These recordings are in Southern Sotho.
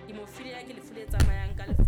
Hemophilia ke lefu le tsamayang ka lefu.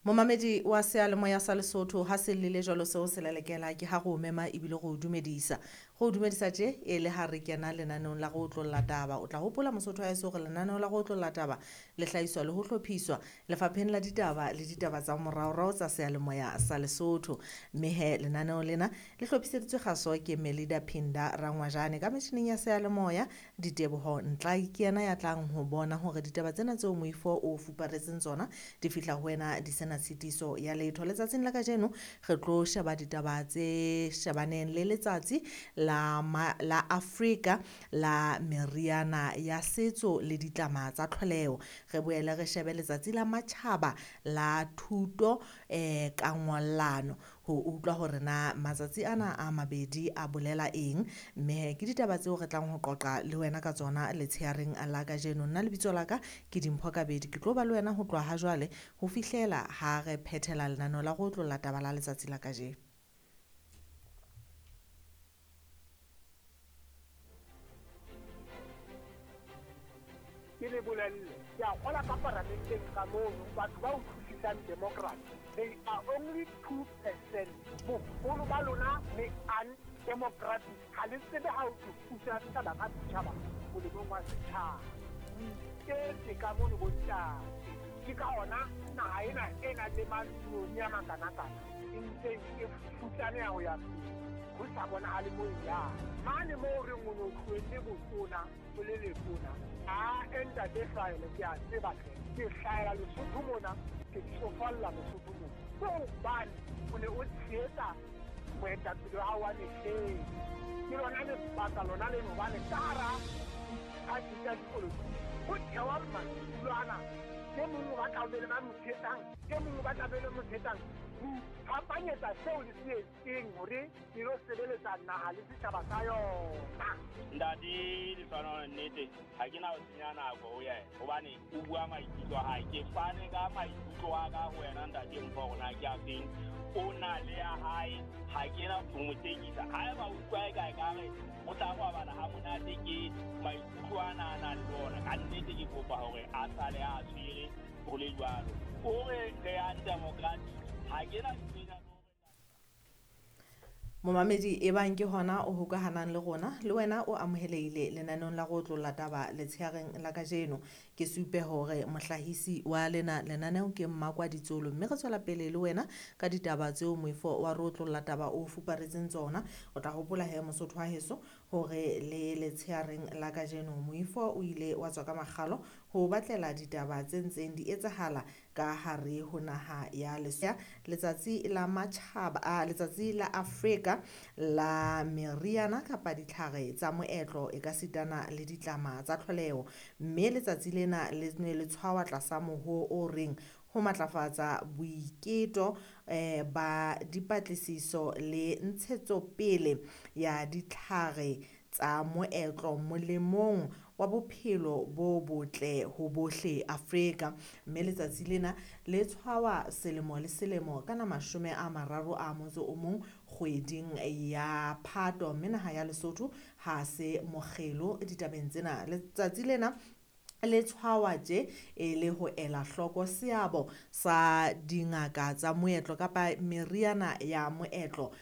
Momamedi wa seyalemoya sa Lesotho ha se llele jwalo seo se lelekela ke ha re o mema ebile re o dumedisa. Re o dumedisa tje e le ha re kena lenaneong la go otlolla taba. O tla hopola Mosotho wa heso hore lenaneo la go otlolla taba le hlahiswa le ho hlophiswa lefapheng la ditaba le ditaba tsa moraorao tsa seyalemoya sa Lesotho. Mme he lenaneo lena le hlophiseditswe kgaso ke Melida Phinda Rangwajane ka metjhining ya seyalemoya. Diteboho Ntlai ke yena ya tlang ho bona hore ditaba tsena tseo moifo o fuparetseng tsona di fihla ho wena di sena tshitiso ya letho. Letsatsing la kajeno re tlo sheba ditaba tse shebaneng le letsatsi la la Afrika la meriana ya setso le ditlama tsa tlholeho. Re boele re shebe letsatsi la matjhaba la thuto ka ngollano ho utlwa hore na matsatsi ana a mabedi a bolela eng. Mme ke ditaba tseo re tlang ho qoqa le wena ka tsona letsheareng la kajeno. Nna lebitso la ka ke Dimpho Kabedi, ke tlo ba le wena ho tloha ha jwale ho fihlela ha re phethela lenaneo la go otlolla taba la letsatsi la kajeno. Ke le bolelle, ke a kgola ka paramenteng ka mono, batho ba utlwisisang democracy, they are only 2%. Boholo ba lona le undemocratic, ha le tsebe ha o pusa setjhaba ka setjhaba molemong wa setjhaba. Iketse ka mono bontate, ke ka hona naha ena e nang le mantsinyane a makanakana e ntse e futsaneha ho ya pele, ho sa bonahale moo e yang. Mane moo re reng o no tlohelle botona o le letona, a ntate Hlahele ke a tseba hle, ke hlahela Lesotho mona, ke tsofalla Lesotho mona. Ke hobane o ne o tshehetsa moetapele wa hao wa mehleng. Ke lona lebaka lona leno hobane ka hara diphathi tsa dipolotiki ho thewa madulo ana, e mong o batla ho be le ba mo tshehetsang, e mong o batla be le mo tshehetsang. Ho iphapanyetsa seo le se etseng hore le lo sebeletsa naha le setjhaba sa yona. Ntate Lehlohonolo, nnete ha ke na ho senya nako ho yena hobane o bua maikutlo a hae. Ke fane ka maikutlo a ka ho wena ntate Mpho hore na ke a feng. O na le ya hae, ha ke na ho mo tekisa. Haeba o utlwa eka ekare o tla robala ha monate ke maikutlo ana a nang le ona, ka nnete ke kopa hore a sale a tshwere ho le jwalo. O re re undemocratic, ha ke na ntho. Momamedi e bang ke hona o hokahanang le rona, le wena o amohelehile lenaneong la go otlolla taba letsheareng la kajeno. Ke supe hore mohlahisi wa lena lenaneo ke Mmakwa Ditsolo, mme re tswela pele le wena ka ditaba tseo moifo wa re otlolla taba o fuparetseng tsona. O tla hopola he Mosotho wa heso hore le letsheareng la kajeno moifo o ile wa tswa ka makgalo ho batlela ditaba tse ntseng di etsahala ka hare ho naha ya Lesotho. Letsatsi la matjhaba, letsatsi la Afrika la meriana kapa ditlhare tsa moetlo e ka sitana le ditlama tsa tlholeho. Mme letsatsi lena le ne le tshwawa tlasa mohoo o reng ho matlafatsa boiketo ba dipatlisiso le ntshetsopele ya ditlhare tsa moetlo molemong wa bophelo bo botle ho bohle Afrika. Mme letsatsi lena le tshwawa selemo le selemo ka la 31 kgweding ya Phato. Mme naha ya Lesotho ha se mokgelo ditabeng tsena. Letsatsi lena le tshwawa tje e le ho ela hloko seabo sa dingaka tsa moetlo kapa meriana ya moetlo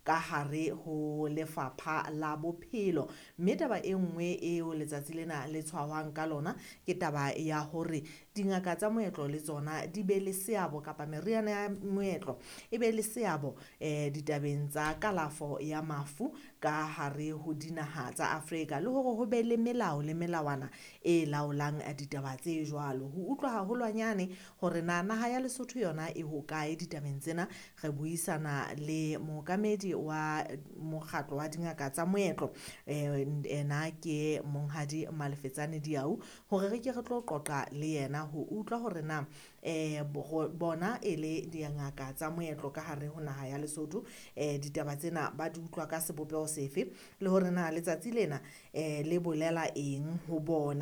ka hare ho lefapha la bophelo. Mme taba e nngwe eo letsatsi lena le tshwawang ka lona ke taba ya hore dingaka tsa moetlo le tsona di be le seabo kapa meriana ya moetlo e be le seabo ditabeng tsa kalafo ya mafu ka hare ho dinaha tsa Afrika, le hore ho be le melao le melawana e laolang ditaba tse jwalo. Ho utlwa haholwanyane hore na naha ya Lesotho yona e hokae ditabeng tsena, re buisana le mookamedi wa mokgatlo wa dingaka tsa moetlo, ena ke Monghadi Malefetsane Diau, hore re ke re tlo qoqa le yena ho utlwa hore na bona e le dingaka tsa moetlo ka hare ho naha ya Lesotho, ditaba tsena ba di utlwa ka sebopeho sefe, le hore na letsatsi lena le bolela eng ho bona.